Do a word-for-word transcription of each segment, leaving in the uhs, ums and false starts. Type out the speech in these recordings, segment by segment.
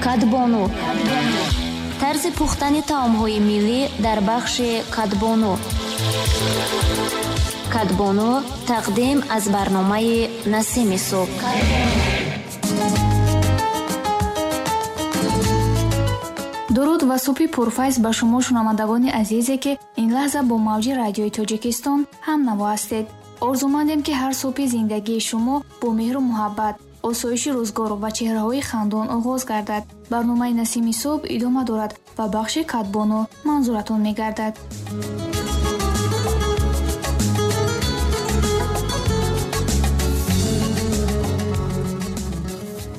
Кадбону. Тарзи пухтани таомҳои миллӣ дар бахши Кадбону. Кадбону тақдим аз барномаи Насими субҳ. Дуруд ва субҳи пурфайз ба шумо шунавандагони азизе, ки ин лаҳза бо мавҷи радиои Тоҷикистон ҳамнаво ҳастед. Орзумандем, ки ҳар субҳи зиндагии шумо бо меҳру муҳаббат, осоиши рӯзгор ва чеҳраҳои хандон оғоз гардад. Барномаи Насими субҳ идома дорад ва бахши Кадбону манзуратон мегардад.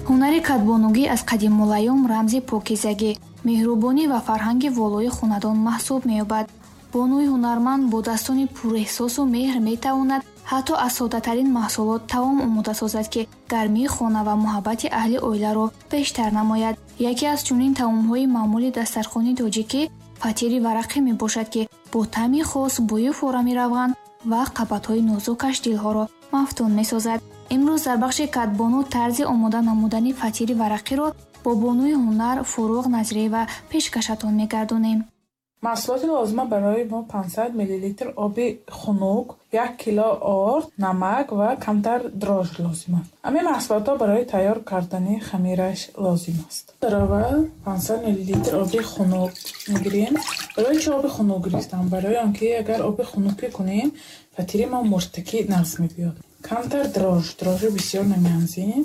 Ҳунари кадбонугӣ аз қадимулайём рамзи покизагӣ, меҳрубонӣ ва фарҳанги волои хонадон маҳсуб меёбад. Бонуи ҳунарманд бо дастони пурэҳсосу меҳр метавонад ҳатто аз соддатарин маҳсулот таом омода созад, ки гармии хона ва муҳаббати аҳли оиларо бештар намояд. Яке аз чунин таомҳои маъмули дастархони тоҷикӣ фатири варақӣ мебошад, ки бо таъми хос, бӯи форами равған ва қабатҳои нозукаш дилҳоро мафтун месозад. Имрӯз дар бахши Кадбону тарзи омода намудани фатири варақиро бо бонуи ҳунар Фуруғ Назриева пешкашатон мегардонем. Маҳсулоти лозима барои мо панҷсад миллилитр оби хунук, як кило орд, намак ва камтар дрожж лозим аст. Ҳамин маҳсулотҳо барои тайёр кардани хамираш лозим аст. Дар аввал панҷсад миллилитр оби хунук мегирем. Барои чӣ оби хунук гирифтам? Барои он ки агар оби хунукӣ кунем, фатири мо муртакӣ нағз мебиёд. Камтар дрожж, дрожжи бисёр намеанзем.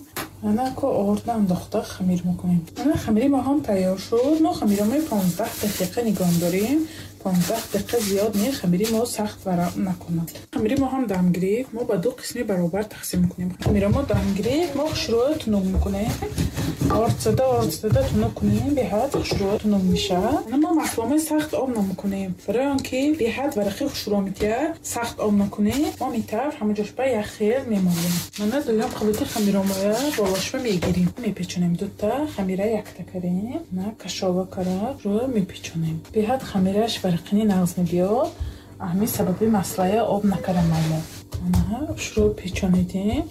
Ана ко орда андохта хамир мекунем. Ана хамири мо ҳам тайёр шуд. Мо хамиро мо понздаҳ дақиқа нигоҳ дорем. Понздаҳ дақиқа зиёд не, хамири мо сахт варам накунад. Хамири мо ҳам дам гирифт. Мо ба ду қисми баробар тақсим мекунем. Хамиро мо дам гирифт, мо хушрӯ тунук мекунем. Орд зада, орд зада тунук кунем, беҳад хушрӯ тунук мешавад. Ана мо маҳсуломи сахт об намекунем. Барои он ки беҳад варақи хушрӯ метиҳад, сахт об накунем, мо метавр ҳама ҷошба як хел мемолем. Мана дуюм қабати хамиромоя болошба мегирем. Мепечонем дута, хамира якта карем. На кашова кара рӯ мепечонем. Беҳад хамираш варақини нағз мебиёд. Ҳамин сабаби маслая об накарам мо. Ана хушрӯ печонидем.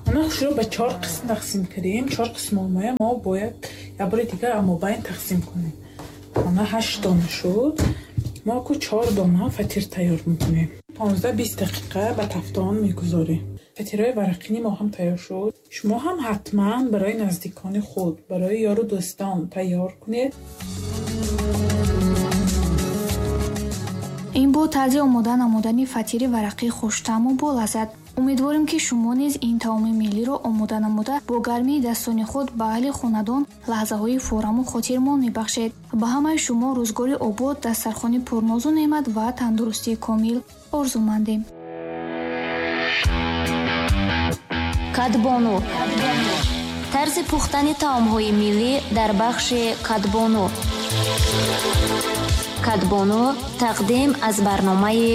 Ана хушрӯ ба чор қисм тақсим кардем. Чор қисм омая мо бояд як бори дигар амобайн тақсим кунем. Ана ҳашт дона шуд. Мо ку чор дона фатир тайёр мекунем. Понздаҳ бист дақиқа ба тафтон мегузорем. Фатирҳои варақини мо ҳам тайёр шуд. Шумо ҳам ҳатман барои наздикони худ, барои ёру дӯстон тайёр кунед. Ин буд тарзи омода намудани фатири варақии хуштаъму болаззат. Умедворем, ки шумо низ ин таоми миллиро омода намуда бо гармии дастони худ ба аҳли хонадон лаҳзаҳои фораму хотирмон мебахшед. Ба ҳамаи шумо рӯзгори обод, дастархони пурнозу неъмат ва тандурустии комил орзумандем. Кадбону. Тарзи пухтани таомҳои миллӣ дар бахши Кадбону. Кадбону тақдим аз барномаи